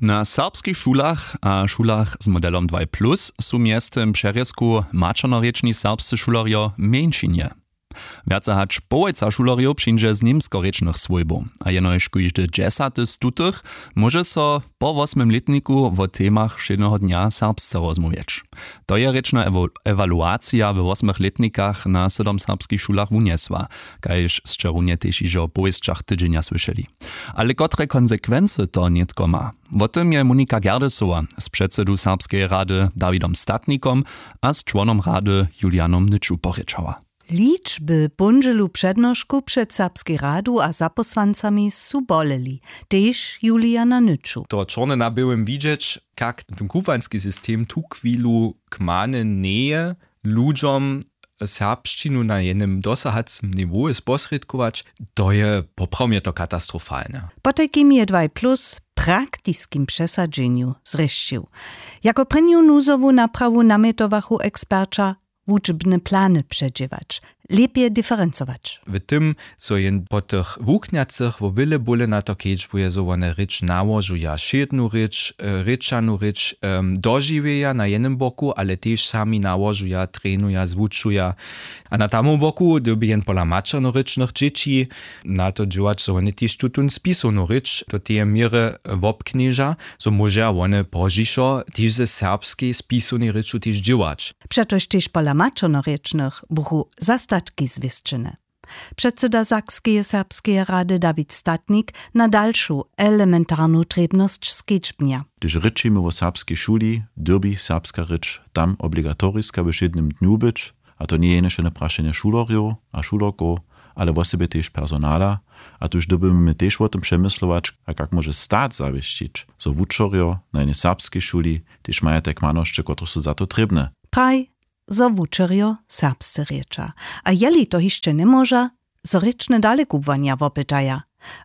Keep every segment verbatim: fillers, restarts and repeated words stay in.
Na serbskich šulach a šulach z modelom dwaj plus su mjeztym přerězku maćernorěčni serbscy šulerjo mjeńšinje. Wjace hač połojca šulerjow přińdźe z němskorěčnych swójbow, a jenož kóždy dźesaty z tutych móže so po wosmym lětniku wo temach wšědneho dnja serbsce rozmołwjeć. To je rěčna ewo- ewaluacija we wosmych lětnikach na sydom serbskich šulach wunjesła, kaž sće runje tež hižo w powěsćach tydźenja słyšeli. Ale kotre konsekwency to nětko ma, wo tym je Monika Gerdesowa z předsedu Serbskeje rady Dawidom Statnikom a z čłonom rady Julianom Nyču porěčała. Ličby póndźelu přednošku před Serbskej radu a zapósłancami su boleli, tež Juliana Nyču. To čorne na běłym widźeć, kak ten kubłański system tuchwilu kmany njeje, ludźom serbšćinu na jenym dosahacym niwołu sposrědkować, to je poprawomje to katastrofalne. Potajkim je dwaj plus praktiskim přesadźenju zrěšćił. Jako prěnju nuzowu naprawu namjetowachu eksperća, wučbne plany předźěłać, lěpje diferencować. W tym, zo jen po tych wuknjacych wo wjele bóle na to kedźbuje, zo wone rěč nałožuja wšědnu rěč, rěčanu rěč dožiwjeja na jenym boku, ale tež sami nałožuja, trenuja, zwučuja. A na tamom boku dyrbi jen pola maćernorěčnych dźěći na to dźěłać, zo wone tež tutón spisownu rěč do teje měry wobknježa, zo móžeja wone pozdźišo tež ze serbskej spisownej rěču tež dźěłać. Přetož tež pola maćernorěčnych buchu zastatki zwěsćene. Předsyda Sakskeje serbskeje rady Dawid Statnik na dalšu elementarnu trěbnosć skedźbnja. Hdyž rěčimy wo serbskej šuli, dyrbi serbska rěč tam obligatoriska we wšědnym dnju być, a to njeje jenož jeno prašenje šulerjow a šulerkow, ale wosebje tež personala. A tuž dyrbimy tež wo tym přemyslować, a kak móže stat zawěsćić, zo wučerjo na jenej serbskej šuli tež maja te kmanosće, kotrež su za to trěbne. Praj, zo wučerjo serbsce rěča, a jeli to hišće njemóža, zo rěčne dalekubłanja wopytaja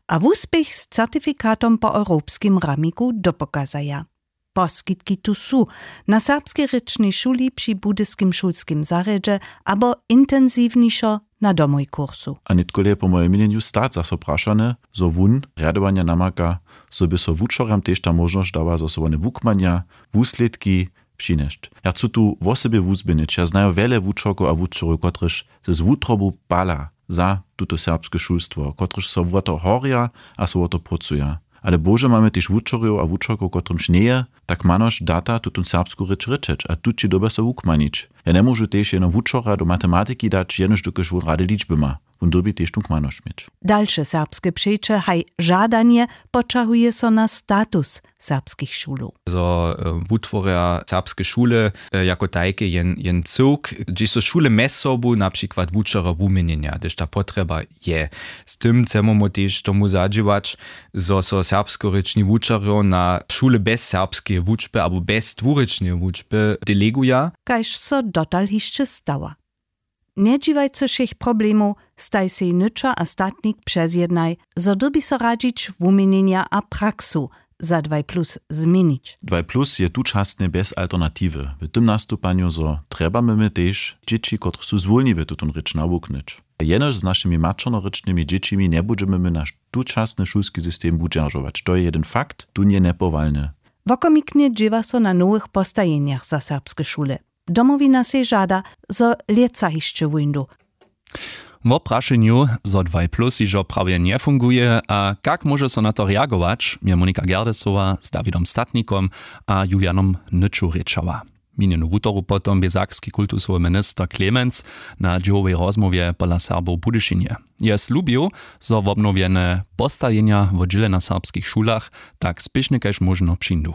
a wuspěch z certifikatom po europskim ramiku dopokazaja. Poskitki tu su: na serbskej rěčnej šuli při budyskim šulskim zarjedźe abo intensiwnišo na domoj kursu. A nětkole je po mojim měnjenju stat zaso prašany, zo wón rjadowanja namaka, zo by so wučerjam tež ta móžnosć dała, zo so wone wukmanja, wuslědki přinjesć. Ja chcu tu wosebje wuzběhnyć, ja znaju wjele wučerkow a wučerjow, kotrež z wutrobu pala za tuto serbske šulstwo, kotrež so wo to horja a so wo to prócuja. Ale bože, mamy tež wučerjow a wučerkow, kotrymž njeje ta kmanosć data tutón serbsku rěč rěčeć, a tući dyrbja so wukmanić. Ja njemóžu tež jeno wučerja do matematiki dać, jenož dokelž wón rady ličby ma. Wón dyrbi tež tu kmanosć měć. Dalše serbske přeće haj žadanje poćahuje so na status serbskich šulow. Zo wutworja serbske šule jako tajke jen jen cyłk, hdźež so šule mjez sobu na přikład wučerjo wuměnjenja, hdyž ta potrjeba je. Z tym chcemy mu tež tomu zadźěłać, zo so serbskorěčni wučerjo na šule bjez serbskeje wučby abo bjez dwurěčneje wučby deleguja. Kaž so dotal hišće stała. Njedźiwajcy wšěch problemow, staj sej nyča a statnik přezjednaj, zo dyrbi so radźić wuměnjenja a praksu za dwaj plus změnić. Dwaj plus je tučasnje bjez alternatiwy w tym nastupanju, zo trjebamy my tež dźěći, kotrež su zwólniwe tutón rěč nawuknyć. Jenož z našimi maćernorěčnymi dźěćimi njebudźemy my naš tučasny šulski system wudźeržować, to je jedyn fakt, tón je njepowalny. Wokomiknje dźěła so na nowych postajenjach za serbske šule. Domowina sej žada, zo lětsa hišće wóńdu. Wo prašenju, zo dwaj plus hižo prawje njefunguje a kak móže so na to reagować, je Monika Gerdesowa z Dawidom Statnikom a Julianom Nyču rěčała. Minjenu wutoru potom bě sakski kultusowy minister Clemens na dźěłowej rozmołwje pola Serbow w Budyšinje. Je slubił, zo wobnowjene postajenja wo dźěle na serbskich šulach tak spěšnje kaž móžno přińdu.